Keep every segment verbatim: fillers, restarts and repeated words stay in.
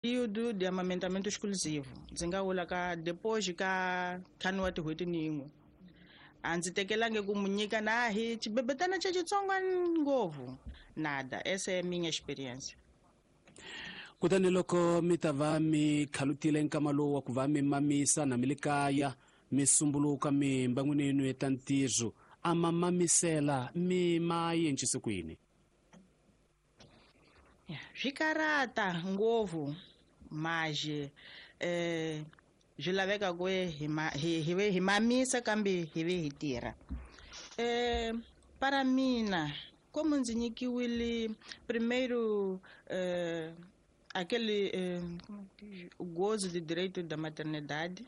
Período de amamentamento exclusivo ndzi nga vula ka depois ka ntlhanu wa tin'hweti ni yin'we a ndzi tekelangi ku mu nyika na hi xibebetana xa xitsongo ngopfu nada. Essa é a minha experiência. Kutani loko mi ta va mi khalutile nkama lowu wa ku va mi mamisa na mi le kaya mi sumbuluka mi mbangwini yenu eta ntirho a ma mamisela mi ma yencise ku yini? Swi karata ngopfu maje eh swi laveka ku hi ma hi hi ve hi mamisa kambe hi ve hi tirha. Eh para mina como ndzi nyikiwile primeiro eh aquele eh, o gozo de direito da maternidade.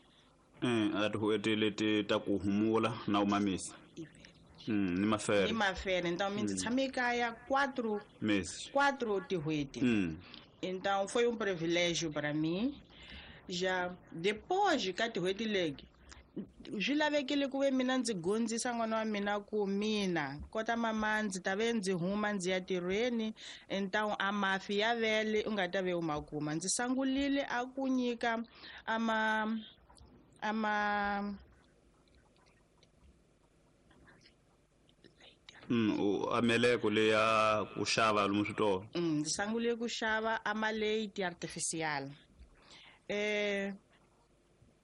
Mm, a tin'hweti leti ta ku humula na u mamisa. Mm, ni mafere. Ni mafere. Então mina ndzi tshame ekaya quatro meses. Quatro tin'hweti. Mm. Então foi um privilégio para mim. Já depois ka tin'hweti leti swi lavekile ku ve mina ndzi gondzisa n'wana wa mina ku mina kota mama ndzi ta ve ndzi huma ndzi ya tirhweni, então a mafi ya vele u nga ta ve u ma kuma. Ndzi sangulile a ku nyika ama ama Mm, ameleko leya ku xava lomu switolo. Mm, ndzi sangule ku xava amaleiti artificial. Eh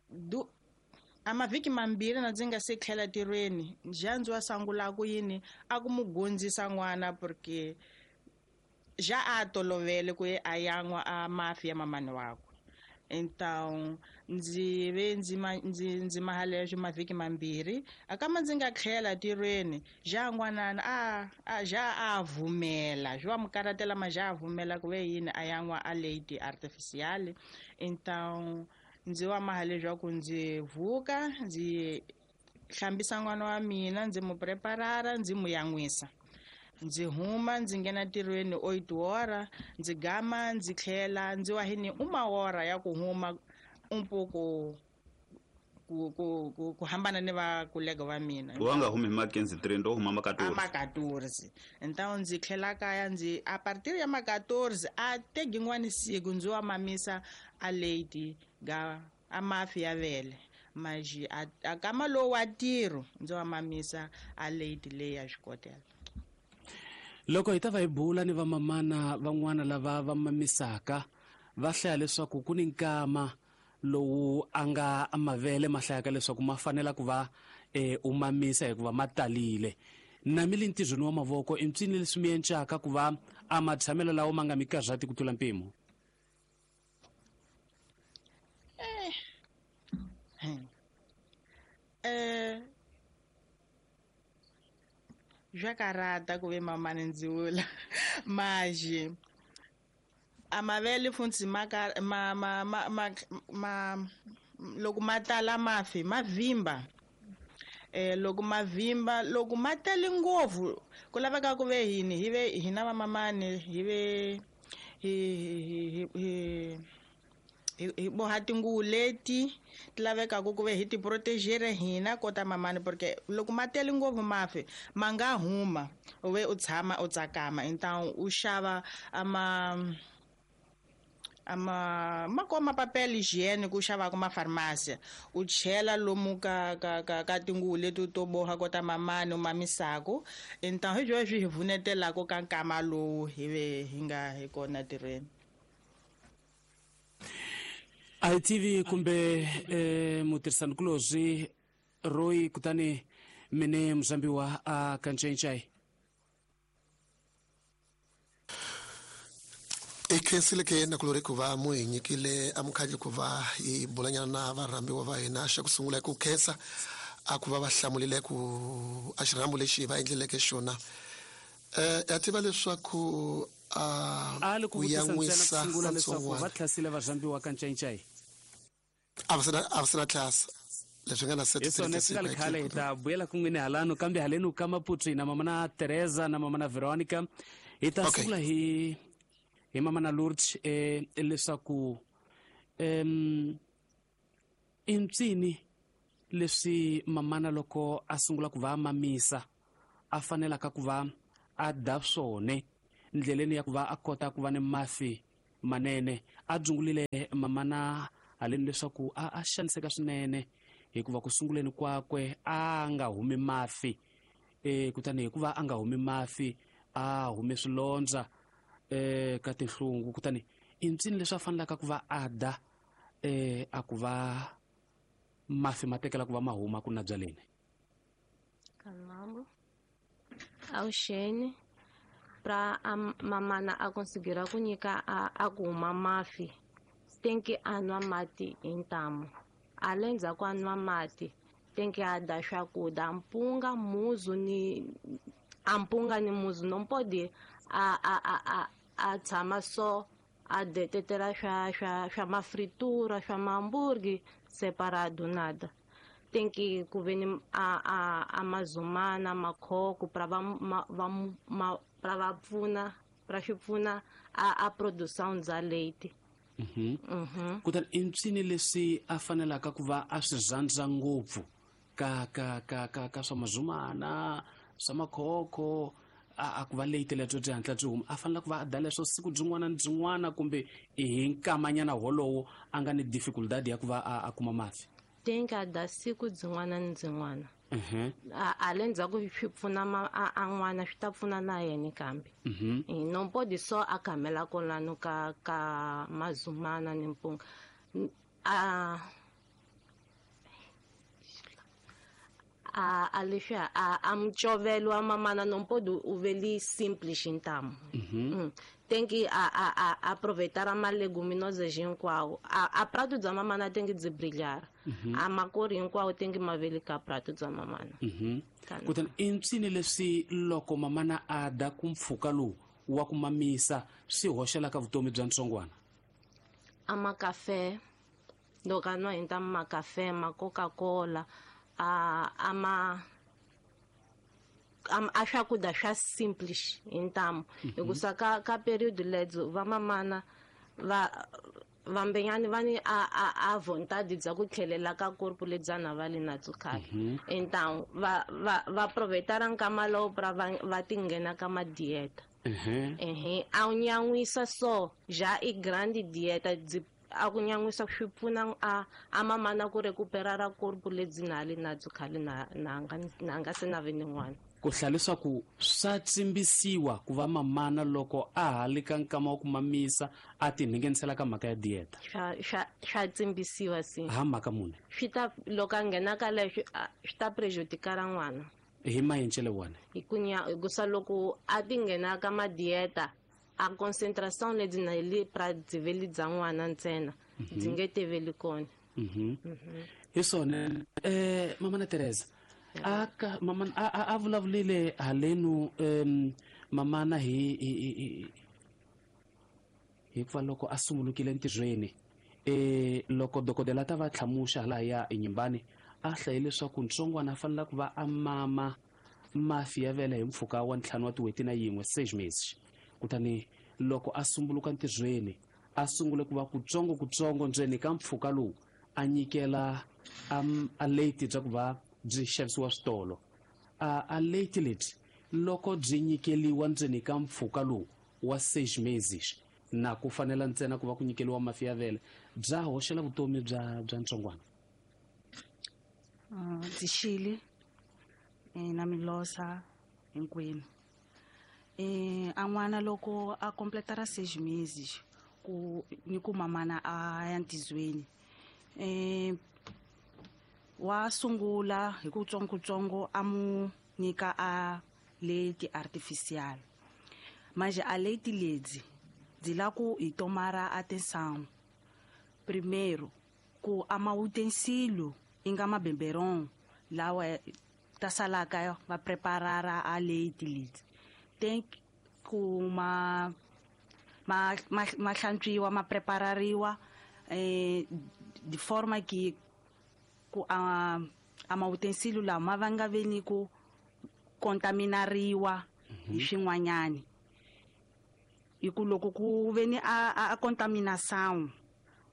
du a mavhiki mambirhi na ndzi nga se tlhela tirhweni ja ndzi wa sangula ku yini a ku mu gondzisa n'wana porque ja a tolovele ku ye a yan'wa a mafi ya mamani wakwe. Então ndzi ve ndzi ma ndzi ndzi mahaleswo mavhiki mambirhi a kama ndzi nga tlhela tirhweni ja n'wanana a a ja a vumela swi wa mu karatela ma ja a vumela ku ve yini a yan'wa a leiti artificial. Então ndzi wa maha leswaku ndzi vuka ndzi hlambisa n'wana wa mina ndzi mu preparara ndzi mu yan'wisa ndzi huma ndzi nghena ntirhweni oito hora ndzi gama ndzi tlhela ndzi wa hini uma hora ya ku huma um pouco ku ku ku ku hambana ni vakolega va mina. Wa nga humi hi ma quinze trinta u huma ma quatorze. A ma quatorze. Então ndzi tlhela kaya ndzi a partir ya ma quatorze a tegi n'wani siku ndzi wa mamisa a leiti ga a mafi ya vele maji a, a kama lowu wa ntirho ndzi wa mamisa a leiti leyi ya xikotela. Loko hi ta va hi bula ni vamamana van'wana lava va mamisaka va hlaya leswaku ku ni nkama lowu a nga mavele ma hlayaka leswaku ma fanela ku va eh, u mamisa hikuva ma talile. Na mi le ntirhweni wa mavoko i mpsini leswi mi encaka ku va a matshamelo lawa ma nga mi karhati ku tlula mpimo? Eh. Eh swa karata ku ve mamani ndzi vula maji a mavele funtsi ma ma ma ma ma, ma loko ma tala mafi ma vimba. Eh loko ma vimba loko ma tele ngopfu ku laveka ku ve hini hi ve hina vamamani hi ve hi hi hi hi boha tinguvu leti ti lavekaka ku ve hi ti protegere hina kota mamani porque loko ma tele ngopfu mafi ma nga huma u ve u tshama u tsakama. Então u xava ama ama ma koma papel higiênico u xavaka mafarmácia u chela lomu ka ka ka ka tinguvu leti to boha kota mamani u mamisako. Então hi byo swi hi pfunetelaka ka nkama lowu hi ve hi nga hi kona tirhweni. A hi tivi kumbe eh, mutirhisanikulorhi Roy kutani mine muzambiwa a kancencai. I khensile ke nakulori ku va mu hi nyikile amukhandli ku va hi bulanyana na varhambiwa va hina. Xa ku sungula hi ku khensa a ku va va hlamulile ku a xirhambo lexi va endleleke xona. Eh ya tiva leswaku a a li ku ku vutisa ntsena ku yan'wisa sungula leswaku katsongwana. va tlhasile varhambiwa kancencai. A va sina a va sina tlhasa leswi nga na Hi swona swi nga li khale hi ta vuyela kun'wini halano kambe haleni ka Maputo na mama na Teresa na mama na Veronica hi ta Okay. sungula hi hi mama na Lourdes eh leswaku em i mpsini leswi mamana loko a sungula ku va mamisa a fanelaka ku va a da swone ndleleni ya ku va a kota ku va ni mafi Manene a dzungulile mamana haleni leswaku a a xaniseka swinene hikuva ku sunguleni kwakwe a nga humi mafi e kutani hikuva a nga humi mafi a hume swilondza e ka tinhlungu kutani i ncini leswi a fanelaka ku va a da e a ku va mafi ma tekela ku va ma huma ku na byaleni. Kanambo awuxeni pra a mamana a conseguir ku nyika a, a ku huma mafi tem que a nwa mati hi ntamu ale ndzhaku a nwa mati tem que a da swakudya mpunga muzu ni a mpunga ni muzu não pode a a a a, a tshama só a detetela swa swa swa mafritura swa mahambúrguer separado nada. Tem que ku ve ni a a a mazumana makhoko pra va ma, va ma, pra va pfuna pra swi pfuna a a produção bya leite. Mhm. Mm kutani i ncini leswi a fanelaka ku va a swi zandza ngopfu ka ka ka ka ka swa mazumana swa makhoko a a ku va leite lebyo byi hatla byi huma a fanela ku va a da leswo siku byin'wana ni byin'wana kumbe hi nkamanyana wolowo a nga ni dificultad ya ku va a, a kuma mafi. Tem que a da siku byin'wana ni byin'wana. Mhm. A ale ndzhaku swi pfuna ma a, a n'wana swi ta pfuna na yena kambe. Mhm. E não pode só a camela kolano ka ka mazumana ni mpunga. A a a leswi a a mchovelo wa mamana não pode o veli simples ntamu. Mhm. Mm. Tem que a a a aproveitar a leguminosas hinkwawo. A a prato bya mamana tem que byi brilhar. Mm-hmm. A makori hinkwawo tem que maveli ka prato bya mamana. Mhm. Kutani i ncini leswi loko mamana a da ku mpfhuka lowu wa ku mamisa swi hoxelaka vutomi bya ntsongwana? A makafe loko a nwa hi ntamu makafe ma Coca-Cola a a ma a swakudya swa simples hi ntamu hikusa ka ka period lebyo va mamana va vambenyani va ni a a a vontade bya ku tlhelela ka corpo lebyana va li na byo khale. Então va va va aproveitar nkama lowu pra va va ti nghena ka madieta. Ehe a wu nyan'wisa so já i grande dieta byi a ku nyan'wisa swi pfuna a a mamana ku recuperar corpo lebyi na li na byo khale na na nga na nga se na ve ni n'wana. Ku hlaya leswaku swa tsimbisiwa ku va mamana loko a ha li ka nkama wa ku mamisa a tinhengenisela ka mhaka ya dieta. Swa swa swa tsimbisiwa si. Ha mhaka muni? Swi ta loko a nghena ka leswi swi ta prejudikara n'wana. Hi mayencele wona? Hi ku nya hikusa loko a ti nghena ka madieta a concentração lebyi na li pra byi veli bya n'wana ntsena byi nge teveli kona. Mhm. Hi swona eh mamana Teresa a ka mamana a a vulavulile halenu em mamana hi hi hikuva loko a sungulukile ntirhweni eh loko dokodela ta va tlhamuxa hala ya enyimbani a hlaye leswaku ntsongwana a fanela ku va a mama mafi ya vele hi mpfhuka wa ntlhanu wa tin'hweti na yin'we seis meses. Kutani loko a sumbuluka ntirhweni a sungule ku va kutsongo kutsongo ndzeni ka mpfhuka lowu a nyikela a leiti bya ku va byi xavisiwa switolo. A a leiti lebyi loko byi nyikeliwa ndzeni ka mpfhuka lowu wa seis meses na ku fanela ntsena ku va ku nyikeliwa mafi ya vele bya hoxela vutomi bya bya ntsongwana. Ndzi xile na milosa hinkwenu. Eh a n'wana loko a completara seis meses ku ni ku mamana a ya ntizweni eh wa sungula hi ku tsongo tsongo a mu nyika a leiti artificial manje a leiti ledzi byi la ku hi tomara atenção primeiro ku a ma utensílio inga mabeberon lawa ta salaka va preparara a leiti ledzi tem ku ma ma ma ma hlantswiwa ma preparariwa eh de forma que ku a a ma utensílio lawa ma va nga veni ku contaminariwa hi swin'wanyani hi ku loko ku veni a a contaminação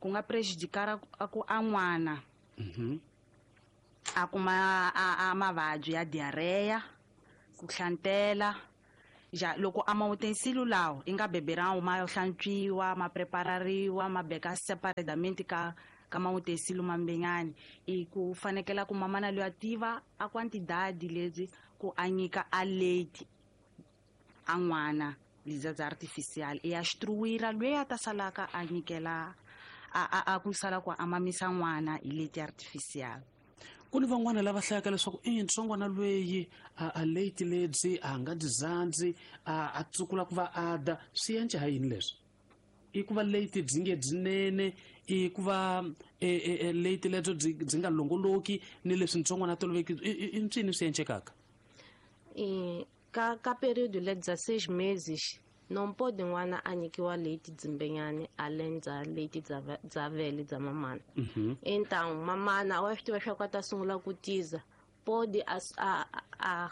ku nga prejudicar a ku a n'wana a kuma a, a mavabyi ya diarrhea ku hlantela Ja loko a mautensílio lawo i nga beberão ma hlantswiwa ma preparariwa ma beka separadamente ka ka mautensílio mambenyani i ku fanekela ku mamana loyi a tiva a quantidade lebyi ku a nyika a leite a n'wana liza bya artificial i ya instruira loyi a ta salaka a nyikela a a a ku sala ku a mamisa n'wana hi leite artificial. Ku ni van'wana lava hlayaka leswaku i ntsongwana lweyi a a leite lebyi a nga dyi zandzi a a tsukula ku va a da swi endla ha yini leswi? I ku va leite byi nge byinene, i ku va e leite lebyo byi byi nga longoloki ni leswi ntsongwana toloveki i ncini swi endlekaka? E ka ka período lebya seis meses não pode n'wana a nyikiwa leite dzimbenyani além dza leite dza dza vele dza mamana. Uhum. Então mamana wa swi tiva swa ku a ta sungula ku tiza pode a a a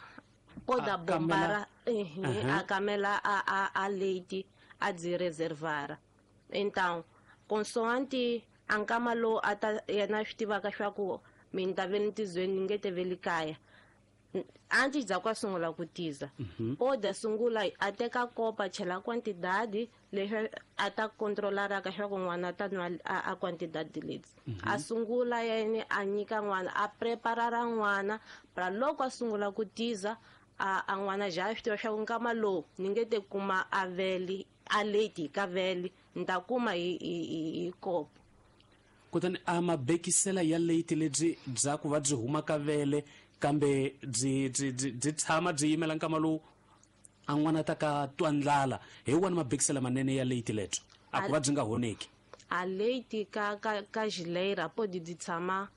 pode a bombara a camela a a a leite a dzi reservara. Então consoante a nkama lowu a ta yena swi tivaka swa ku mi ta ve ni tizweni ni nge te ve le kaya antes dza ku a sungula ku tiza pode a sungula a teka kopa chela quantidade leswi a ta controlaraka swa ku n'wana a ta nwa a quantidade lebyi a sungula yena a nyika n'wana a preparara n'wana pra loko a sungula ku tiza a a n'wana ja swi tiva swa ku nkama lowu ni nge te kuma a vele a leite ka vele ni ta kuma hi hi hi kopo. Kutani a mabekisela ya leite lebyi bya ku va byi huma ka vele kambe byi byi byi tshama byi yimela nkama lowu a n'wana ta ka twa ndlala hi wona mabekisela manene ya leite lebyo a ku va byi nga honeki. A leite ka ka ka geleira pode dyi tshama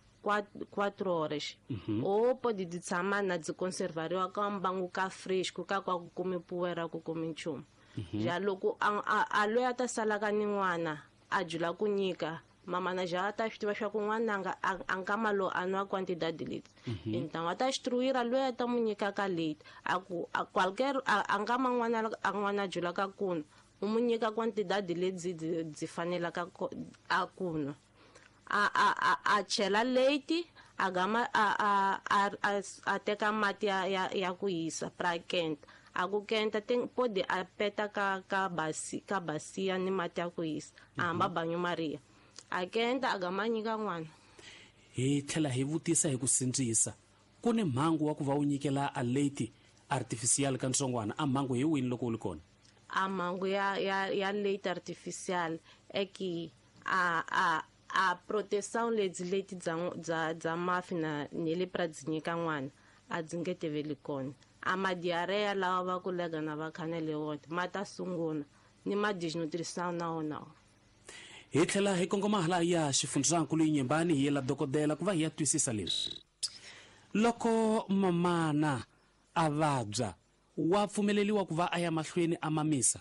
quatro horas ou pode dyi tshama na dyi conservariwa ka mbangu ka fresco ka kwa ku kumi poeira ku kumi nchumu. Ja loko a a loyi a ta salaka ni n'wana a jula ku nyika mamana ja ta swi tiva swa ku n'wana nga a nkama lowu a nwa quantidade leti então a ta instruira loyi a ta mu nyikaka leite a ku a qualquer a nkama n'wana a n'wana julaka ku nwa u mu nyika quantidade lebyi byi fanelaka a ku nwa a a a chela leite a gama a a a a teka mati ya ya ya ku hisa pra kenta a ku kenta tem pode a peta ka ka basi ka basia ni mati ya ku hisa a hamba banho maria a kenta a gama nyika n'wana. Hi tlhela hi vutisa hi ku sindzisa ku ni mhangu wa ku va u nyikela a leite artificial ka ntsongwana a mhangu hi wini loko u li kona? A mhangu ya ya ya leite artificial é que a a a proteção lebyi leite dza dza dza mafi na ni le pra dzi nyika n'wana a dzi nge teveli kona. A ma diarreia lawa va kulega na va khanele wona ma ta sungula ni ma desnutrição na wona. Hi tlhela hi kongoma hala ya xifundzankulu Yinyembani hi yela dokodela ku va hi ya twisisa leswi. Loko mamana a vabya wa pfumeleriwa ku va a ya mahlweni a mamisa?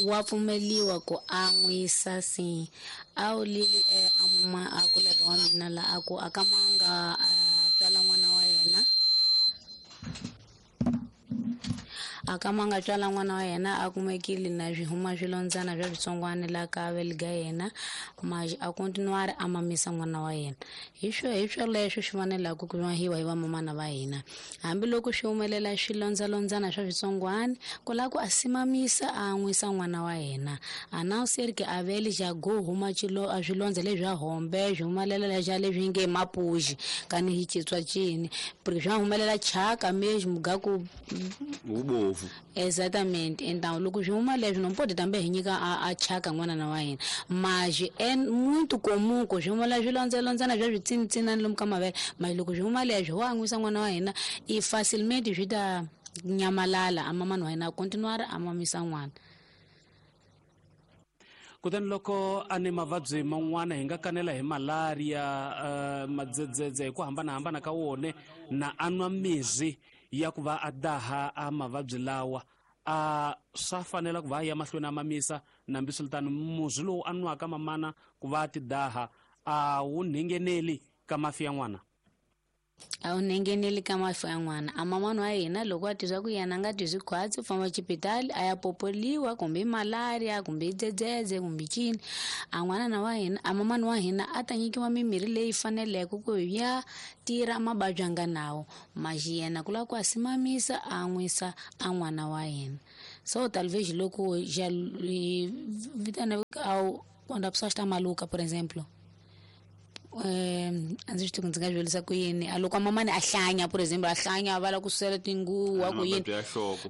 Wa pfumeliwa ku an'wisa si a wu lili a muma a kuleka wa mina la a ku a ka manga a tswala n'wana wa yena a ka manga tswala n'wana wa yena a kumekile na swi huma swilondzana swa switsongwana la ka vele yena mas a continuar a mamisa n'wana wa yena. Hi swo hi swoleswo swi fanelaka ku hiwa hi vamamana va hina hambiloko swi humelela swilondzalondzana swa switsongwana ku lava ku a simamisa a an'wisa n'wana wa yena a não ser que a vele já go huma xilo a swilondza leswi a hombe swi humelela leswi leswi nge mapuji kani hi chitswa cini porque swa humelela chaka mesmo ga ku ubovu. Exatamente. Então loko swi huma leswi não pode também hi nyika a, a chaka n'wana na wa hina mas é muito comum ku swi humelela swilondzalondzana swa switsinitsinani lomu ka mavele mas loko swi huma leswi wa an'wisa n'wana wa hina i facilmente swi ta nyamalala a mamani wa hina a continuar a mamisa n'wana. Kutani loko a ni mavabyi man'wana hi nga kanela hi malaria uh, madzedzedze hi ku hambanahambana ka wona na a nwa mirhi ya ku va a daha a mavabyi lawa a swa fanela ku va a ya mahlweni a mamisa nambiswiritano murhi lowu a nwaka mamana ku va a ti daha a wu ngheneli ka mafi ya n'wana? A wu ngeneli ka mafi ya n'wana. A mamani wa hina loko a tizwa ku yena a nga twi khwatsi u famba xipitali a ya popoliwa kumbe i malaria kumbe i dzedzedze kumbe cini. A n'wanana wa hina a mamani wa hina a ta nyikiwa mimirhi leyi faneleke ku ya tirha mavabyi a nga nawo. Maxi yena ku lava ku a simamisa a nwisa a n'wana wa hina. So talvez loko já vitana ao quando a pessoa está maluca, por exemplo. Eh, a ndzi swi tivi ku ndzi nga swi vurisa ku yini. A loko mamani a hlanya, por exemplo, a hlanya va lava ku susela tinguva ku yini.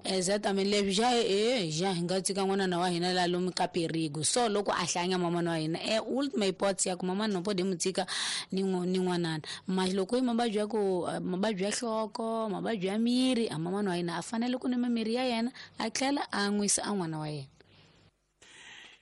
Exatamente, leswi já eh já hi nga tshika n'wanana wa hina la lomu ka perigo. So loko a hlanya mamani wa hina, eh ultima hipótese ya ku mamani no pode mu tshika ni ni n'wanana. Mas loko i mavabyi ya ku mavabyi ya nhloko, mavabyi ya miri, a mamani wa hina a fanele ku nwa mimirhi ya yena a tlhela a nwisa a n'wana wa yena.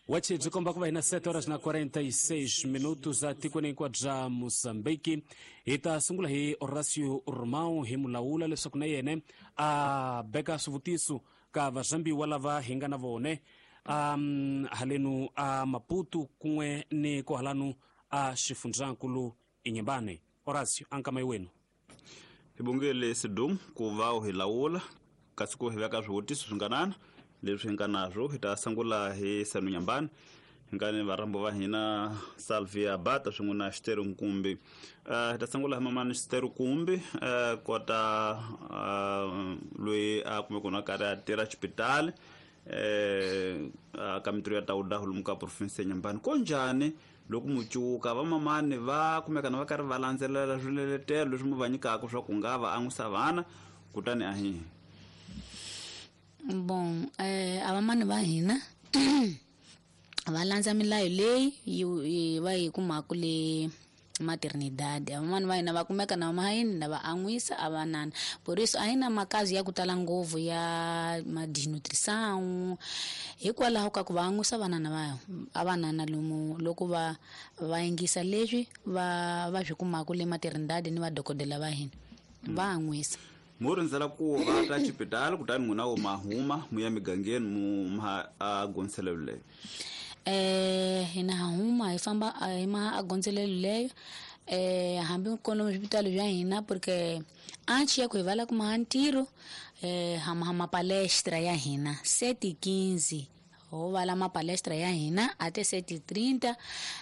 Wachi byi komba ku va hina sete horas na quarenta e seis minutos a tikweni hinkwabyo bya Mozambique. Hi ta sungula hi Horacio Romão hi mulawula leswaku na yena a beka swivutiso ka varhambiwa lava hi nga na vone um halenu a Maputo kun'we ni kohalanu a xifundzankulu Inhambane. Horacio, ankama wenu. Hi bongele Sidum ku va u hi lawula kasi ku hi veka swivutiso swi nga nana leswi hi nga naswo. Hi ta sungula hi Sanu Nyambane hi nga ni varhambo va hina Salvia Bata swin'we na Xiteru Nkumbi. Hi ta sungula hi mamani Xiteru Nkumbi kota loyi a kumeke na karhi a tirha xipitali ka mintirho ya Tauda lomu ka province ya Nyambane. Ko njhani loko mucuka va mamani va kumeka na va karhi va landzelela swiletelo leswi mu va nyikaka swa ku nga va an'wisa vana kutani a hi Bom, eh, a vamani va hina va landza milayo leyi yi va yi kumaka le maternidade. A vamani va hina va kumeka na mahayini na va an'wisa a vanana. Por isso a hi na makazi ya ku tala ngopfu ya ma desnutrição hikwalaho ka ku va an'wisa vanana va a vanana lomu loko va va yingisa leswi va va swi kumaka le maternidade ni vadokodela va hina va an'wisa. Mu rindzela ku va ta xipitali kutani n'wina wo mahuma mu ya migangeni mu ma a gondzelelo leyo. Eh hina huma hi famba hi ma a gondzelelo leyo eh hambi kona swipitali bya hina porque antes ya ku hi vala kuma ntirho eh hama hama palestra ya hina sete quinze ho vala ma palestra ya hina até sete trinta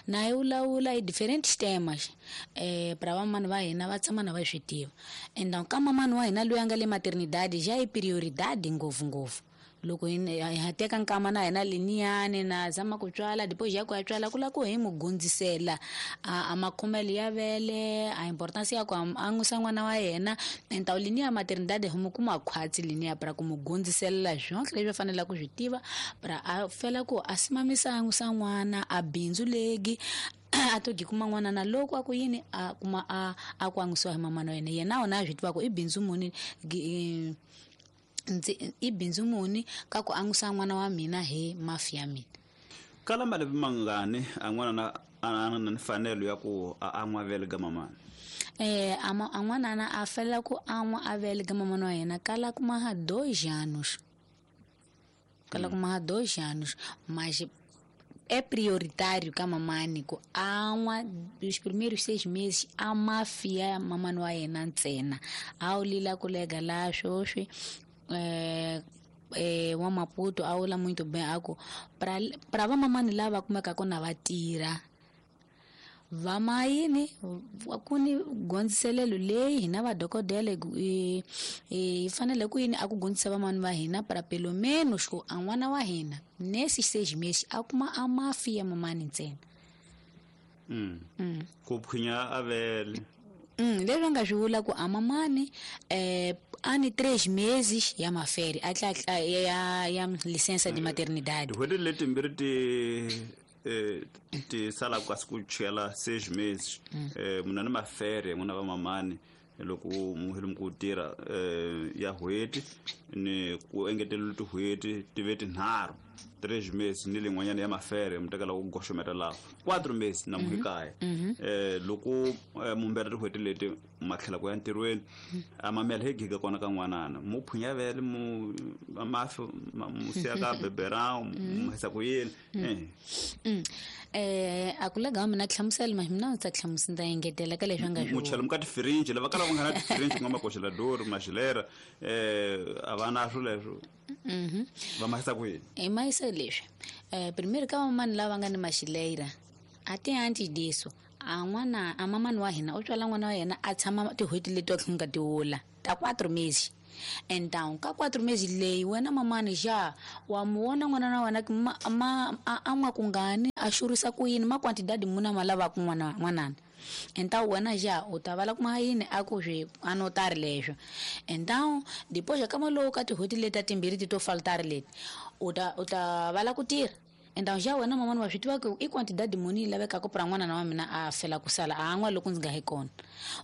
na hi vulavula hi diferentes temas eh para vamani va hina va tshama na va swi tiva. Então ka mamani wa hina loyi a nga le maternidade já i prioridade ngopfu ngopfu. Loko hi ha teka nkama na hina liniyani na zama ku tswala depois ya ku ya tswala ku lava ku hi mu gundzisela a makhomelo ya vele a importance ya ku an'wisa n'wana wa yena. Então liniya maternidade hi mu kuma khwatsi liniya para ku mu gundzisela swonke leswi a faneleke ku swi tiva para a fela ku a simamisa an'wisa n'wana a bindzu legi a to gi kuma n'wana na loko a ku yini a kuma a a ku an'wisiwa hi mamana wa yena. Yena wona a swi tiva ku i bindzu muni i bindzu muni ka ku an'wisa n'wana wa mina hi mafi ya mina. Kala malembe mangani a n'wana na a na mfanelo ya ku a an'wa vele ga mamani? Eh a n'wanana a fela ku an'wa a vele ga mamani wa yena kala kuma ha dois anos. Kala kuma ha dois anos, mas é prioritário ka mamani ku an'wa os primeiros seis meses a mafia mamani wa yena ntsena. A wu lila ku lega la swoswi eh eh wa Maputo a vula muito bem a ku para para vamamani lava kumekaka na va tirha va mayini ku ni gondziselelo leyi hina vadokodela hi fanele ku yini a ku gondzisa vamani va hina para pelo menos ku a n'wana wa hina nesse seis meses a kuma a mafi ya mamani ntsena. Mm. Mm. Ku phwinya a vele. Mm, leswi nga swi vula ku a mamani eh ani três meses ya maferi a tla ya ya licença de maternidade. Tin'hweti letimbirhi ti eh ti sala kasi ku chela seis meses eh munhu ni mafere n'wina va mamani loko mu heli ku tirha eh ya n'hweti ni ku engetelela tin'hweti ti ve tinharhu três meses ni lin'wanyana ya mafere mu tekela ku goxometa laha quatro meses na muhikaya. Eh loko mumbera tin'hweti leti ma tlhela ku ya ntirhweni a mamela hi giga kona ka n'wanana mu phwinya vele mu mafi mu siya ka beberão mu hisa ku yini. Eh Eh a ku lega mina hlamusela ma mina ndzi ta hlamusela ndza engetela ka leswi nga swi muchela muka tifirinji lava kala va nga na tifirinji ku nga makoxelador maxilera eh a va na swo leswo mhm va mahisa ku yini e mahisa leswi eh primeiro ka mamani lava nga ni maxileira a ti antes disso a n'wana a mamani wa hina u tswala n'wana wa yena a tshama tin'hweti leti a nga tiwula ta quatro meses. Então ka quatro meses leyi wena mamani ja wa mu vona n'wana na wena ma, ma a n'wa kungani a xurisa ku yini ma quantidade muna ma lavaka n'wana n'wanana. Então wena ja u ta vala kuma yini a ku swi anotari leswo. Então depois ka maloko ka tin'hweti leti ta timbirhi ti to faltari leti u ta u ta vala ku tirha. Então já wena mamani wa swi tiva ku i quantidade muni yi lavekaka pra n'wana na wa mina a fela ku sala a n'wa loko ndzi nga hi kona.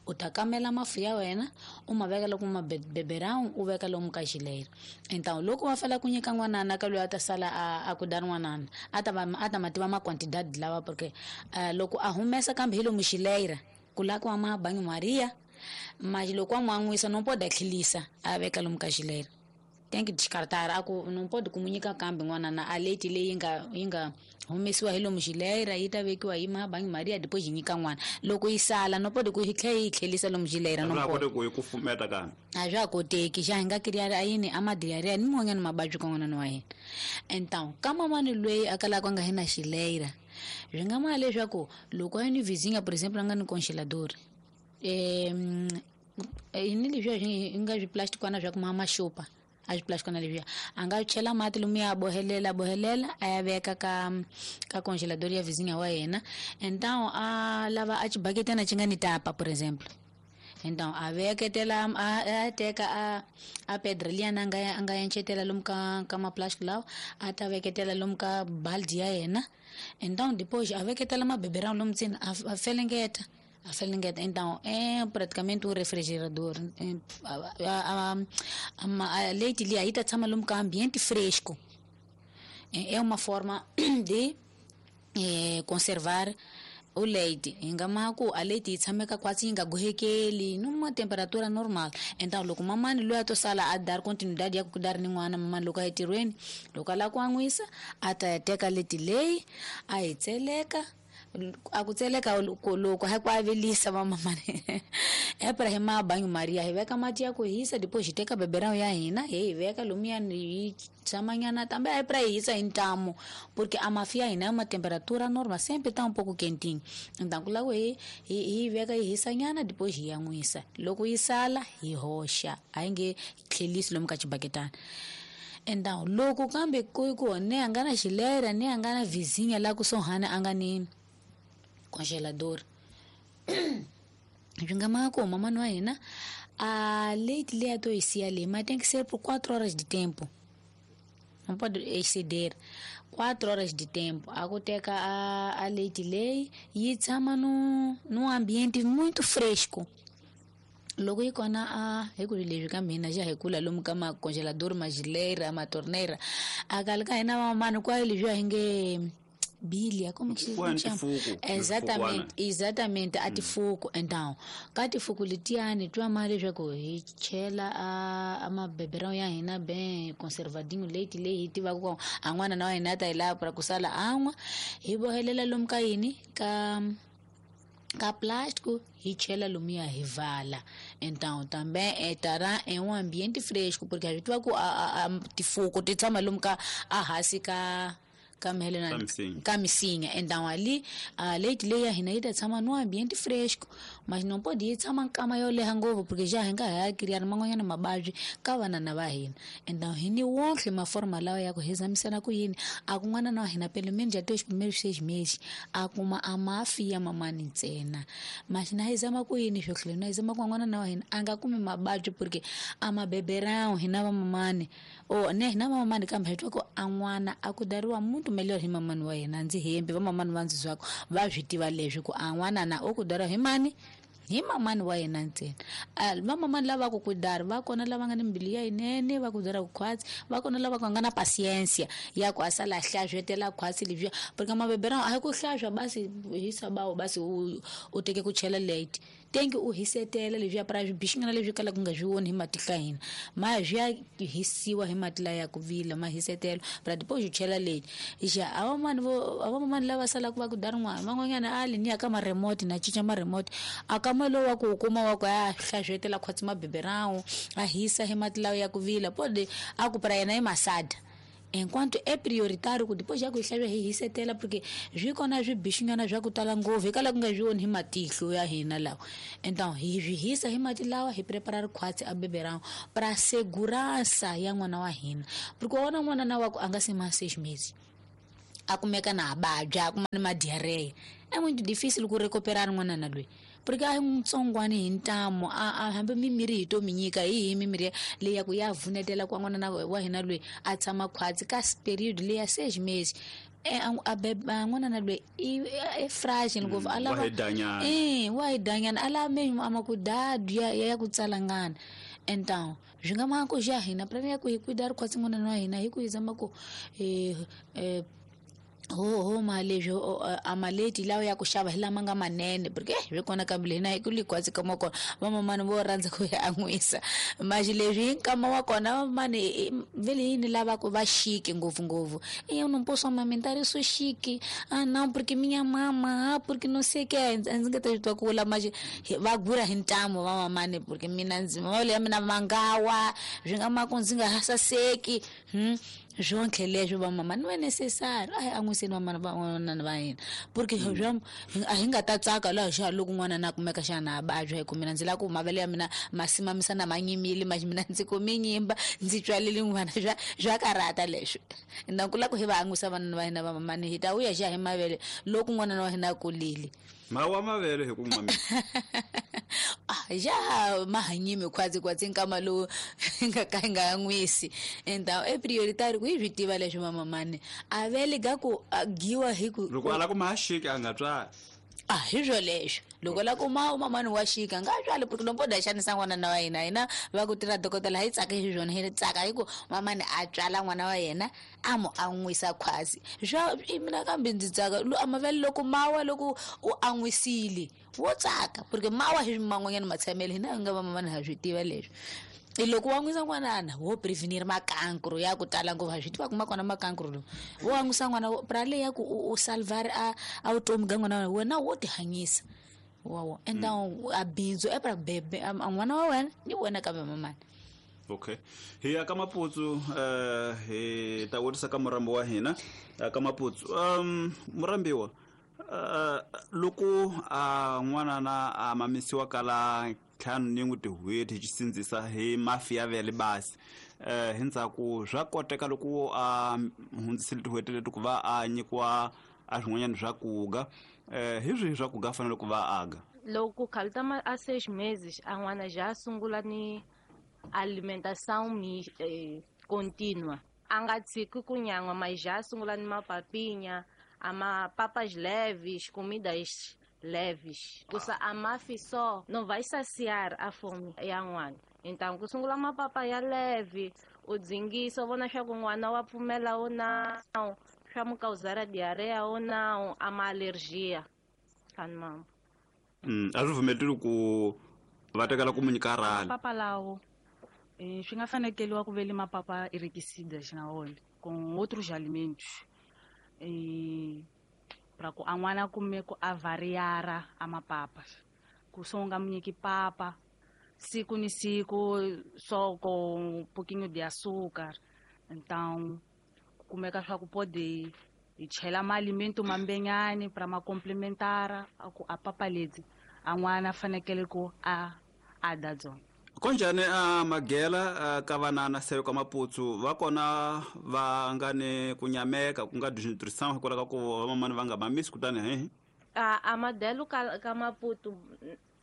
U ta kamela mafu ya wena u ma veka loko ma beberão u veka lomu ka xileira. Então loko wa fela ku nyika n'wanana ka loyi a ta sala a a ku da n'wanana a ta va a ta ma tiva ma quantidade lawa porque uh, loko a humesa kambe hi lomu xileira ku la ku ma banho Maria mas loko a n'wan'wisa não pode tlhelisa a veka lomu ka xileira. Tem que descartar a ku não pode comunicar kambe n'wana na a leite leyi nga yi nga humesiwa hi lomu xileira yi ta vekiwa hi ma banho Maria depois yi nyika n'wana loko yi sala no pode ku yi tlhela yi tlhelisa lomu xileira no pode ku yi kufumeta kambe a swa koteki xa hi nga kiriari a yini a madiarrhea ni mun'wanyana mababyi ka n'wana wa hina. Então ka mamani loyi a kalaka a nga hi na xileira swi nga ma leswaku loko a yi ni vizinha por exemplo a nga ni congelador eh ni leswiya swi nga swiplastikwana swa ku ma maxupa a swiplastikwana leswiya a nga chela mati lomu ya bohelela bohelela a ya veka ka ka congelador ya vizinha wa yena. Então a lava a xibaketana xi nga ni tapa por exemplo. Então a veketela a teka a a pedra liyana a nga a nga enchetela lomu ka ka maplastic lawa a ta veketela lomu ka baldi ya yena. Então depois a veketela mabeberão lomu ndzeni a felengeta a felengeta. Então é praticamente um refrigerador. A, a, a, a leite ali aí tá tshama lomu ka ambiente fresco. É uma forma de é, conservar o leite. Hi nga ma ku a leite yi tshameka kwatsi yi nga gohekeli numa temperatura normal. Então loko mamani loyi a to sala a dar continuidade ya ku dar ni n'wana mamani loko a ya tirhweni loko a lava ku an'wisa a ta ya teka leti leyi a yi tseleka a ku tseleka loko ha ku avelisa vamamani e pra hi ma banho Maria hi veka mati ya ku hisa depois hi teka beberão ya hina hi yi veka lomuya yi tshamanyana tambe a pra hi hisa hi ntamu porque a mafi ya hina é uma temperatura normal sempre tá um pouco quentinho. Então ku lava hi hi veka yi hisanyana depois hi yan'wisa loko yi sala hi hoxa a yi nge tlhelisi lomu ka xibaketana. Então loko kambe ku ku ne a nga na xilera ne a nga na vizinha la kusuhani a nga ni congelador swi nga ma ku mamani wa hina a leite leyi a to yi siya leyi ma tem que ser por quatro horas de tempo, não pode exceder quatro horas de tempo. A ku teka a, a leite leyi yi tshama no num ambiente muito fresco. Loko yi kona a hi ku leswi ka mina xa hi kula lomu ka macongelador maxileira matorneira a kale ka hina vamamani kwayo leswiya hi nge bilia como que se chama? Exatamente, exatamente a tifuku. Então ka tifuku letiyani twa ma leswaku hi chela a a mabeberão ya hina bem conservadinho leite leyi hi tivaka ku a n'wana na wa hina a ta yi lava pra ku sala an'wa hi bohelela lomu ka yini ka ka plástico hi chela lomuya hi vala. Então também estará em um ambiente fresco porque a gente tiva ku a, a, a tifuku ti tshama lomu ka a hansi ka ka mhelena ka misinya. Então ali a leite leyi ya hina yi ta tshama no ambiente fresco mas não pode yi tshama nkama yo leha ngopfu porque já hi nga ha criar man'wanyana mavabyi ka vanana va hina. Então hi ni wonke maforma lawa ya ku hi zamisela ku yini a ku n'wana na wa hina pelo menos até os primeiros seis meses a kuma a mafi ya mamani ntsena mas na hi zama ku yini swo tlhela na hi zama ku n'wana na wa hina a nga kumi mavabyi porque a mabeberão hina va mamani o ne hina va mamani kambe hi twa ku a n'wana a ku dariwa muntu melhor hi mamani wa yena ndzi hembi va mamani va ndzi zwako va swi tiva leswi ku a n'wana na o ku dariwa hi mani hi mamani wa yena ntsena. Va mamani lava ku ku dari va kona lava nga ni mbilu ya yinene va ku dara ku khwatsi va kona lava ku nga na pasiensia ya ku a sala hlaswetela khwatsi leswiya porque mabeberão a hi ku hlaswa basi hi sabawu basi u u teke ku chela late Tenki u hisetela leswiya pra swibixingana leswi kalaka ku nga swi voni hi matihlo ya hina ma swi ya hisiwa hi mati laya ya ku vila ma hisetela pra depois u chela leti xa a vamani vo a vamani lava salaka va ku dar n'wana van'wanyana a li ni ya ka ma-remote na cinca ma-remote a ka ma lowu wa ku u kuma wa ku a hlazhetela khwatsi mabeberawu a hisa hi mati lawa ya ku vila pode a ku pra yena i masada enquanto é prioritário ku depois já ku hlave hi hisetela porque swi kona swibixingana swa ku tala ngopfu hikala ku nga swi voni hi matihlo ya hina lawa então hi swi hisa hi mati lawa hi prepara rikhwatsi a beberão pra segurança ya n'wana wa hina porque wa vona n'wana na wa ku a nga se ma seis meses a kumeka na vabya a kuma ni ma-diarrhea é muito difícil ku recuperar n'wana na loyi porque a hi ntsongwani hi ntamu a hambi mimirhi hi to mi nyika hi hi mimirhi leyi ya ku ya vunetela kwa n'wana wa hina loyi a tshama khwatsi ka period leyi ya seis meses a n'wana na loyi i fragile ngopfu a lava eh wa hi danyana a lava mesmo a makudadu ya ya ku tsalangana então swi nga ma ku xa hina pra ya ku hi cuidar khwatsi n'wana wa hina hi ku hi zama ku eh eh ho ho ma leswi a maleti lawa ya ku xava hi lama nga manene porque swi kona kambe hina hi ku likwatsi ka kona vamamani vo rhandza ku ya an'wisa maxi leswi hi nkama wa kona vamamani vele yini lava ku va chique ngopfungopfu eu não posso amamentar eu sou chique ah não porque minha mama ah porque não sei que ndzi nga ta swi twa ku vula maxi va gura hi ntamu vamamani porque mina ndzi mavele ya mina mangawa swi nga ma ku ndzi nga ha saseki hmm swonke leswi vamama ni ve necessary a hi an'wiseni vamana van'wana va hina porque swa a hi nga ta tsaka laha xa loko n'wana na kumeka xana a vabya hi ku mina ndzi lava ku mavele ya mina ma simamisa na ma nyimile ma mina ndzi kume nyimba ndzi tswalele n'wana swa swa karhata leswi na ku lava ku hi va an'wisa vanana va hina vamamani hi ta vuya xa hi mavele loko n'wana wa hina a kulile mawa mavele hi ku mamisa ah ja mahanyimi khwatsi khwatsi nkama lowu nga ka nga an'wisi então é prioritário ku hi swi tiva leswi mamamani a vele ga ku giwa hi ku loko a lava ku ma xika a nga tswali ah hi swo leswo loko la ku ma mamani wa xika nga tswali porque não pode xanisa n'wana na wa hina hina va ku tirha dokodela hi tsaka hi swona hi tsaka hi ku mamani a tswala n'wana wa yena a mu an'wisa khwatsi swa mina kambe ndzi tsaka a mavele loko mawa loko u an'wisile wo tsaka porque mawa hi man'wanyana matshamele hina hi nga vamamani ha swi tiva leswi i loko wa n'wisa n'wanana wo prevenir makankro ya ku tala ngopfu ha swi tiva ku ma kona makankro lowu wo an'wisa n'wana pra leyi ya ku u salvar a a vutomi ga n'wana wa wena wo tihanyisa wawo então a bindzu e pra bebe a n'wana wa wena ni wena kambe mamani okay hi ya ka Maputsu eh hi ta vutisa ka murambi wa hina ka Maputsu um murambiwa uh loko a n'wana na a mamisiwa kala ntlhanu ni n'wi tin'hweti hi xisindzisa hi mafi ya vele basi eh hi ndzhaku swa koteka loko a hundzisile tin'hweti leti ku va a nyikiwa a swin'wanyana swa kuga eh hi swihi swa kuga fanele ku va aga loko khalta ma a seis meses a n'wana já sungula ni alimentação eh, contínua a nga tshiki ku nyan'wa mas já sungula ni mapapinha ama papas leves, comidas leves. Kusa a mafi só não vai saciar a fome ya n'wana. Então ku sungula mapapa ya leve, u dzingisa u vona swa ku n'wana wa pfumela ou não, swa mu causar a diarreia ou não, a ma alergia. Mama. Mm, a swi pfumeleli ku va tekela ku mu nyika rhali. Papa lawo eh swi nga fanekeliwa ku vele mapapa enriquecidas na wona com outros alimentos. E para ku a n'wana kume ku a variara a mapapa ku so nga mu nyiki papa siku ni siku só com um pouquinho de açúcar então kumeka swa ku pode hi chela maalimento mambenyani para ma complementar a ku a papa leti a n'wana fanekele ku a a da dzona konjani a magela ka vanana seyo ka Maputsu va kona va nga ni ku nyameka ku nga desnutrition hikwalaho ka ku vamamani va nga mamisi kutani he a a madelo ka ka Maputo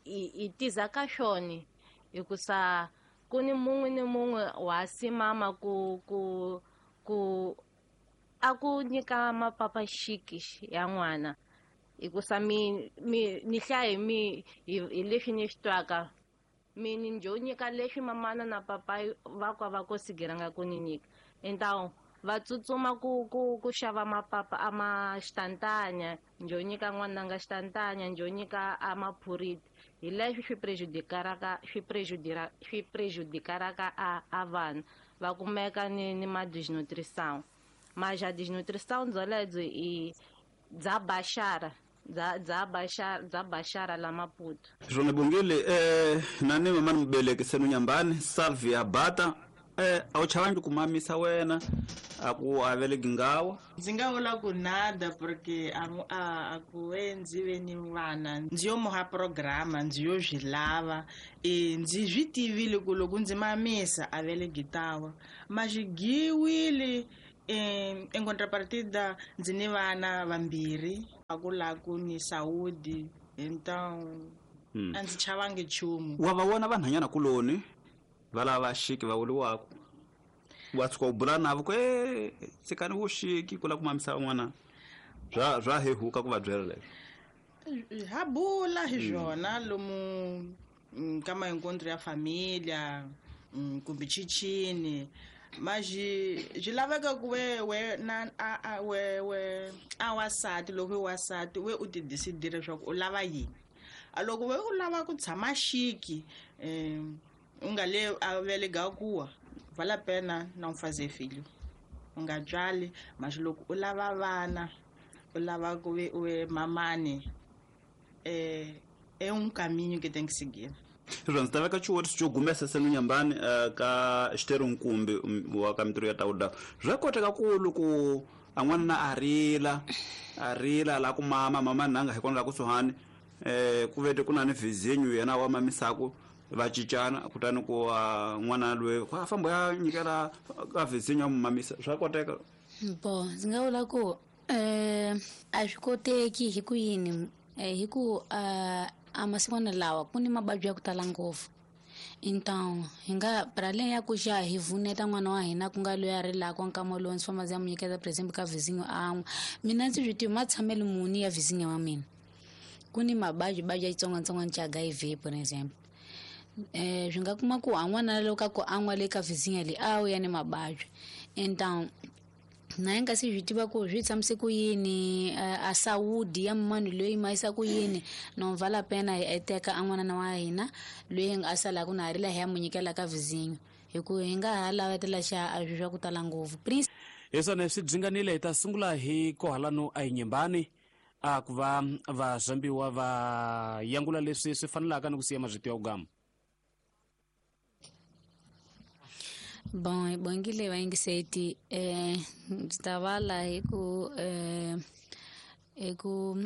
i tiza ka xoni hikusa ku ni mun'we ni mun'we wa simama ku ku ku a ku nyika mapapa xiki ya n'wana hikusa mi mi ni hlaye mi hi leswi ni swi twaka mi njo nyika leswi mamana na papa va kwa va kosigiranga ku ni nyika então Va tsutsuma ku ku ku xava mapapa a ma xitantanya, njo nyika n'wananga xitantanya, njo nyika a maphuriti. Hi leswi swi prejudicaraka swi prejudira swi prejudicaraka a a vanhu va kumeka ni ni ma desnutrição. Mas a desnutrição byolebyo i bya baxara bya bya baxara bya baxara la Maputo. Swona Bongile eh nani mama mubeleki senu nyambani Salvia Bata eh a wu chavangi ku mamisa wena a ku aveleki ngawa? Ndzi nga vula ku nada porque a a ku ve ndzi ve ni vana ndzi yo muha programa ndzi yo swi lava e ndzi swi tivile ku loko ndzi mamisa a veleki tawa ma swi giwile. Em em contrapartida ndzi ni vana vambirhi a ku la ku ni saúde, então a ndzi chavangi nchumu. Wa va vona vanhanyana kuloni va lava xiki va vuriwaka wa tshuka u bula navo ku e tshikani vuxiki ku lava ku mamisa van'wana bya bya hehuka ku va byela leswo? Ha bula hi swona lomu ka maencontro ya família kumbe chichini, mas swi laveka ku we we na a a we we a wasati loko i wasati we u ti decidile leswaku u lava yini. A loko we u lava ku tshama xiki um u nga le a velega kuwa vale a pena não fazer filho, u nga tswali. Mas loko u lava vana u lava ku ve u ve mamani é é um caminho que tem que seguir. Sweswo ndzi ta veka xivutiso xo gumesa senu nyambani ka xitero nkumbi wa ka mintirho ya tawuda. Swa koteka ku loko a n'wana a rila a rila la ku mama mama nanga hi kona la kusuhani eh ku vete ku na ni vizinyo yena wa mamisaku va cincana kutani ku n'wana loyi a famba ya nyikela ka vizinyo mamisa. Swa koteka? Bo ndzi nga vula ku eh a swi koteki hi ku yini hi ku a masikwana lawa ku ni mavabyi ya ku tala ngopfu. Então hi nga para além ya ku xa hi vuneta n'wana wa hina ku nga loyi a rilaka nkama lowu ndzi famba ndzi ya mu nyiketa por exemplo ka vizinyo an'we mina ndzi swi tivi matshamelo muni ya vizinyo wa mina. Ku ni mavabyi vabyi ya xitsongwatsongwana xa H I V por exemplo eh swi nga kuma ku a n'wana loko ka ku an'wa le ka vizinyo leyi a wu ya ni mavabyi. Então na hi nga si swi tiva ku swi tshamise ku yini a saúde ya munhu loyi ma yisa ku yini no vale a pena hi teka a n'wana wa hina loyi a salaka na rila hi ya mu nyikela ka vizinyo hi ku hi nga ha lavetela xa a swi swa ku tala ngopfu. Prince hi swona swi dzinganile hi ta sungula hi kohalano a hi nyimbani a ku va va zambiwa va yangula leswi swi fanelaka ni ku siya mazvito ya ku gama. Bon, hi bongile vayingiseti eh ndzi ta vala hi ku eh hi ku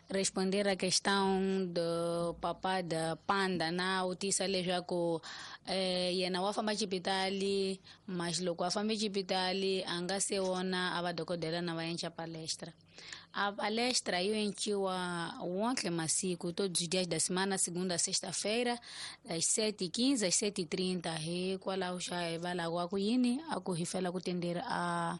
responder a questão do papá da panda na vutisa leswaku eh yena wa famba xipitali mas loko a fambe xipitali a nga se vona a va dokodela na va endla palestra. A palestra yo enciwa wonke masiku todos os dias da semana, segunda a sexta-feira, das sete e quinze às sete e trinta. Hikwalaho xa hi va lava ku yini a ku hi fela ku tendera a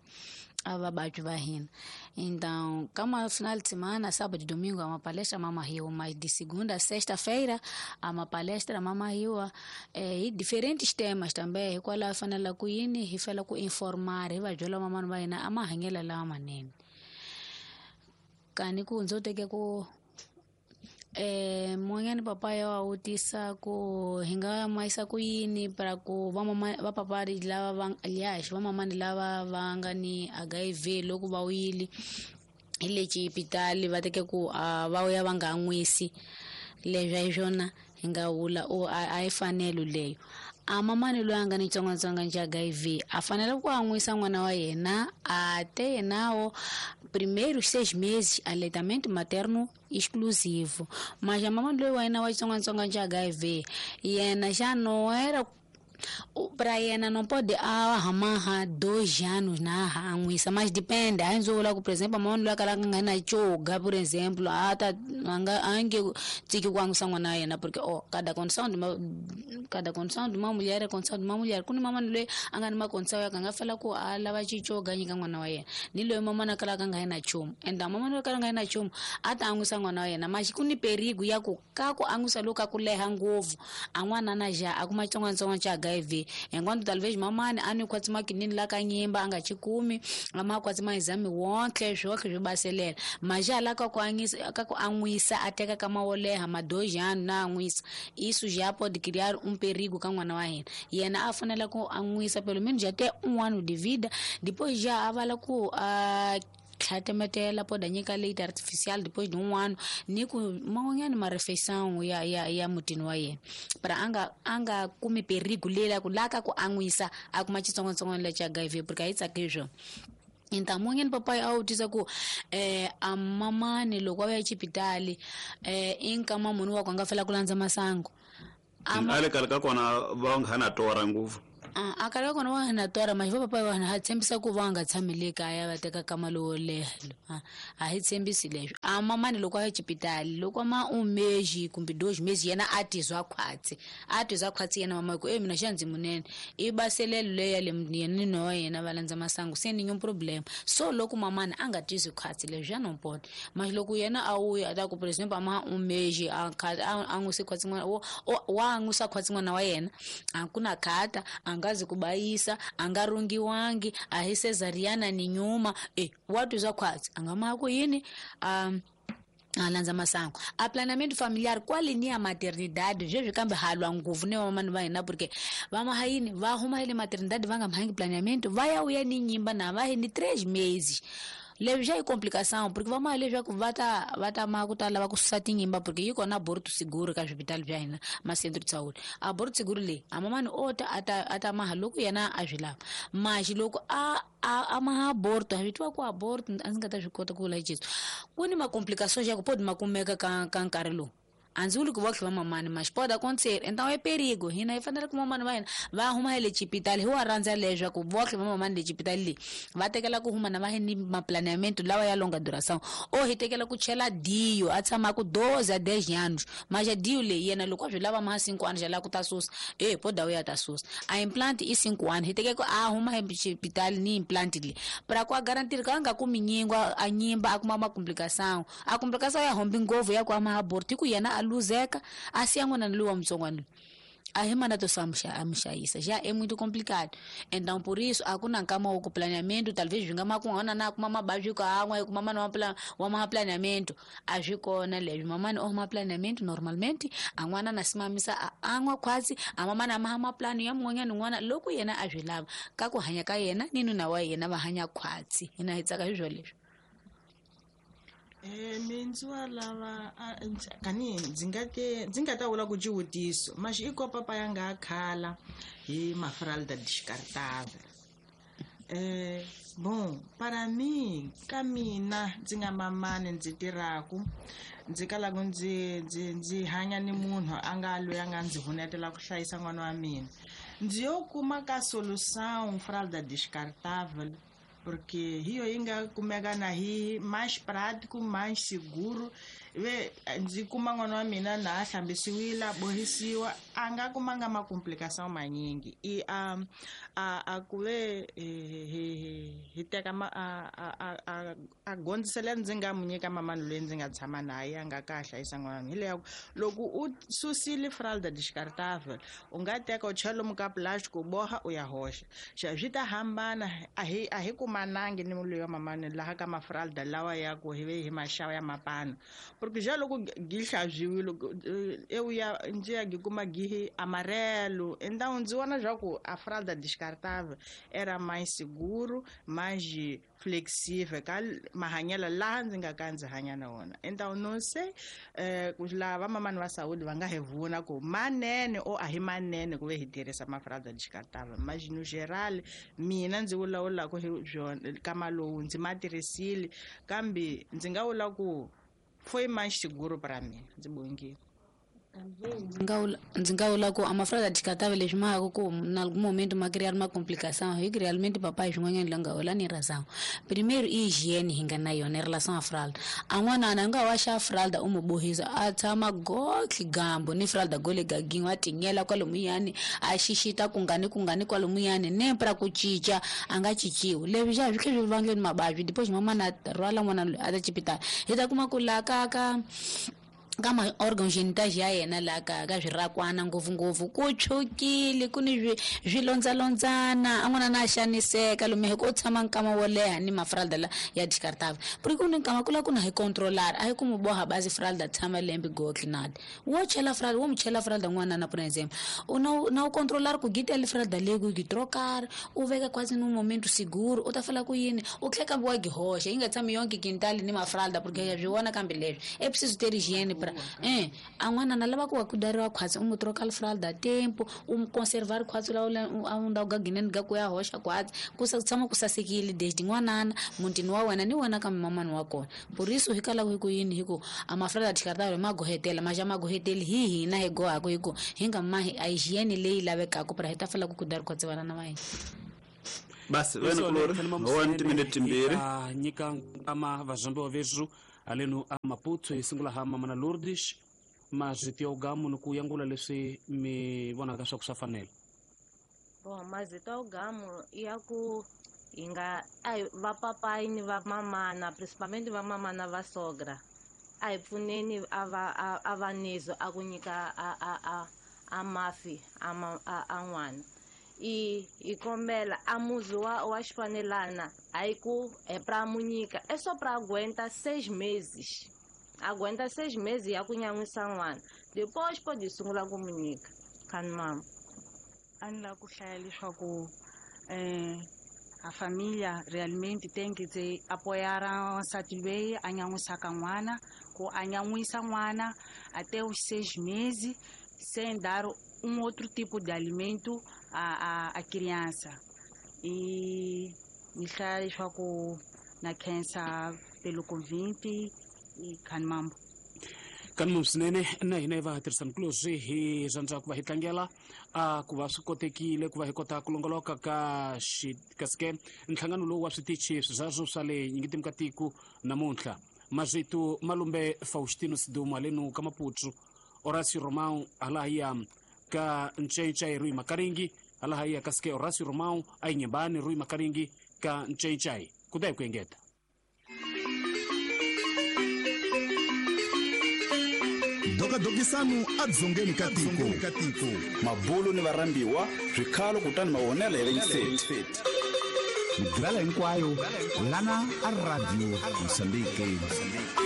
a vababyi va hina. Então, kama final de semana, sábado e domingo, há uma palestra Mama Rio, mas de segunda a sexta-feira há uma palestra Mama Rio, eh, e diferentes temas também. Hikwalaho hi fanele ku yini hi fela ku informar hi va byela mamani va hina a mahanyelo lawa manene. Kani ku ndzo teke ku eh mun'wanyani papa ya wa vutisa ku hi nga ma yisa ku yini para ku va mama va papa lava va aliás va mamani lava va nga ni H I V loko va wile hi le xipitali va teke ku va ya va nga nwisi leswi a hi swona hi nga vula o a yi fanelo leyo. A mamani loyi a nga ni xitsongwatsongwana xa H I V a fanele ku an'wisa n'wana wa yena a te yenawo primeiros seis meses aleitamento materno exclusivo. Mas a mamani loyi wa yena wa xitsongwatsongwana xa H I V yena xa não era para yena não pode ahamaha dois anos na an'wisa, mas depende. A ndzi vula ku por exemplo mamani loyi a kalaka nga na choga por exemplo a ta a nga a nge tshiki ku an'wisa n'wana wa yena porque oh cada condição de uma cada condição de uma mulher é condição de uma mulher. Ku ni mamani loyi a nga ni macondição ya ka nga fela ku a lava xichoga nyika n'wana wa yena ni loyi mamani a kalaka nga na nchumu and mamani loyi a kalaka nga na nchumu a ta an'wisa n'wana wa yena mas ku ni perigo ya ku ka ku an'wisa loku ka ku leha ngopfu a n'wana na ja a kuma xitsongwatsongwana xa H H I V enquanto talvez mamani a ni khwatsi makinini la ka nyimba a nga chikumi a ma khwatsi ma exame wonke zwoke swi baselela maja la ka ku an'wisa ka ku an'wisa a teka ka mawoleha madojana na an'wisa isso já pode criar um perigo ka n'wana wa hina yena a fanele ku an'wisa pelo menos já até um ano de vida depois já avala ku a tlhatemetela pode nyika leite artificial depois de um ano ni ku man'wanyana ma-refeição ya ya ya mutini wa yena para anga anga kumi perigo lela ku la ka ku an'wisa a kuma xitsongwatsongwana lexa H I V porque a yi tsaki swona. Então mun'wanyana papai a wu tisa ku eh a mamani loko a ya xipitali eh i nkama munhu wa ku a nga fela ku landza masangu a le kale ka kona va nga na tora ngopfu a kale ka kona va nga na tora mas va papai va ha tshembisa ku va nga tshami le kaya va teka kama lowo leha a hi tshembisi leswo a mamani loko a ya xipitali loko ma um mês kumbe dois meses yena a tizwa khwatsi a tizwa khwatsi yena mama ku e mina xa ndzi munene i baselelo leya le yena ni wa yena va landza masangu se ni nenhum problema so loko mamani a nga tizwi khwatsi leswi já não pode mas loko yena a wuya a ta ku por exemplo a ma um mês a a n'wisi khwatsi n'wana wa n'wisa khwatsi n'wana wa yena a ku na khata a nga zi kubayisa a nga rungiwangi a hi cesariana ni nyuma e wa tizwa khwatsi a nga ma ku yini um a landza masangu a planeamento familiar kwale ni ya maternidade sweswi kambe halwa ngopfu ni vamamani va hina porque va maha yini va huma le maternidade va nga mahangi planeamento va ya vuya ni nyimba na va hi ni três meses leswi xa yi complicação porque va maha leswaku va ta va ta ma ku ta lava ku susa tinyimba porque yi kona aborto seguro ka swipitali bya hina ma-centro de saúde aborto seguro leyi a mamani o ta a ta a ta maha loko yena a swi lava maxi loko a a a maha aborto a swi tiva ku aborto a ndzi nga ta swi kota ku vula hi Jesu ku ni ma-complicações ya ku pode ma kumeka ka ka nkarhi lowu a ndzi vuli ku va tlhe va mamani mas pode acontecer então é perigo hina hi fanele ku mamani va hina va huma hi le xipitali hi wa rhandza leswaku va tlhe va mamani le xipitali leyi va tekela ku huma na va hi ni maplaneamento lawa ya longa duração o hi tekela ku chela dio a tshama ku doze a dez anos mas a dio leyi yena loko a swi lava ma cinco anos já lava ku ta susa e pode ya ta susa a implant i cinco anos hi teke ku a huma hi xipitali ni implant leyi para ku a garantir ka a nga kumi nyingo a nyimba a kuma ma complicação a complicação ya hombi ngopfu ya ku ama aborto hi ku yena a luzeka a siya n'wana lowa mutsongwana a hi mana to a muxayisa já é muito complicado então por isso a ku na nkama wa ku planeamento talvez swi nga ma ku n'wana na kuma mabavyi ku an'wa ku mamani wa plan wa ma planeamento a swi kona leswi mamani o ma planeamento normalmente a n'wana na simamisa a an'wa khwatsi a mamani a maha maplano ya mun'wanyana n'wana loko yena a swi lava ka ku hanya ka yena ni nuna wa yena va hanya khwatsi hina hi tsaka hi swo leswi. Eh mindzi wa lava kani ndzi nga te ndzi nga ta vula ku xivutiso maxi i ko papa ya nga khala hi mafralda descartável eh bon para mim ka mina ndzi nga mamani ndzi tirhaku ndzi kalaku ndzi ndzi ndzi hanya ni munhu a nga loyi a nga ndzi vunetela ku hlayisa n'wana wa mina ndzi yo kuma ka solução fralda descartável porque hiyo yi nga kumeka na hi mais prático mais seguro ve ndzi kuma n'wana wa mina na a hlambisiwile a bohisiwa a nga kumanga ma-complicação manyingi i a a a ku ve hi hi teka ma a a a a gondzisela ndzi nga mu nyika mamani loyi ndzi nga tshama na ye a nga ka hlayisa n'wana wa mina hi leya loko u susile fralda descartável u nga teka u chela lomu ka plastic u boha u ya hoxa xa swi ta hambana a hi a hi kumanangi ni loyi wa mamani laha ka mafralda lawa ya ku hi ve hi maxava ya mapano porque já loko gi hlantswiwile eu ya ndzi ya gi kuma gi amarelo então ndzi vona swa ku a fralda descartável era mais seguro mais flexível ka mahanyelo laha ndzi nga ka ndzi hanya na wona então não sei eh, ku laha vamamani va saúde va nga hi vona ku manene o a hi manene ku ve hi tirhisa mafralda descartável mas no geral mina ndzi vulavulaka hi byona kama lowu ndzi ma tirhisile kambe ndzi nga vula ku foi mais seguro para mim ndzi bongile. Ndzi nga vula ku a mafralda descartável leswi ma ku ku na momento ma criar uma complicação hi que realmente papai swin'wanyana la nga hola ni razão primeiro i hygiene hi nga na yona em relação à fralda a n'wana a nga wa xa fralda u mu bohisa a tshama gotlhe gambo ni fralda gole gagin'we a tinyela kwalomuyani a xixita kungani kungani kwalomuyani ne pra ku cinca a nga cinciwi leswi xa swi tlhe swi vangeni mavabyi depois mamana a rhwala n'wana loyi a ta xipitali hi ta kuma ku la ka ka ka ma-organ genital ya yena laha ka ka swirakwana ngopfungopfu ku tshukile ku ni swilondzalondzana a n'wana na xaniseka lomu hi ku tshama nkama wo leha ni mafralda la ya descartável porque ku ni nkama ku la ku na hi controlar a hi ku mu boha bazi fralda tshama lembe gotli nada wo chela fralda wo mu chela fralda n'wana na por exemplo u na na u controlar ku gitela fralda leyi ku gi trocar u veka quase num momento seguro u ta fala ku yini u tlhela kambe wa gi hoxa yi nga tshami yonke quintal ni mafralda porque ya swi vona kambe leswi é preciso ter higiene pra eh a n'wana na lava ku wa kudariwa khwatsi u mu troka fralda tempo u mu conservar khwatsi la a unda u gagineni ga ku ya hoxa khwatsi ku sa tshama ku sasekile desde n'wanana mutini wa wena ni wena kambe mamani wa kona por isso hi kala hi ku yini hi ku a mafralda descartável ma gohetela ma ja ma goheteli hi hina hi gohaka hi ku hi nga mahi a hygiene leyi lavekaka pra hi ta fela ku kudari khwatsi vana na va hina. Basi wena kulori wa timinete timbirhi nyika ama vazambiwa veswu alenu a Maputo hi sungula ha Mamana Lourdes mazito ya ugamu ni ku yangula leswi mi vonaka swa ku swa fanela. Bon, mazito ya ugamu ya ku hi nga a hi vapapayi ni vamamana principalmente vamamana va sogra a hi pfuneni a va a va nizo a ku nyika a a a a mafi a a a n'wana i hi kombela a muzi wa wa xifanelana hayi ku é pra mu nyika é só pra aguenta seis meses aguenta seis meses ya ku nyan'wisa n'wana depois pode sungula ku mu nyika khani mama. A ni lava ku hlaya leswaku um a família realmente tem que te apoiar wansati loyi a nyan'wisaka n'wana ku a nyan'wisa n'wana até os seis meses sem dar um outro tipo de alimento à, à, à criança. E ni hlaya leswaku na khensa pelo convite e khani mambo. Kani swinene na hina hi va tirhisani kuloswi hi rhandza ku va hi tlangela a ku va swi kotekile ku va hi kota ku longoloka ka kasi ke nhlangano lowu wa switichi sweswo swa le nyingitimi ka tiko namuntlha mazito malumbe Faustino Sidumo alenu ka Maputo Horacio Romão alahaya ka Nchaichai Rui Makaringi alahaya kasike Horacio Romão ainyembani Rui Makaringi ka Nchaichai kudai kuengeta. Dokadokisanu adzongeni katiko mabulu ni varambiwa swikhalo kutani mavonelo ya venseti migrala hinkwayo lana a Radio Mozambique.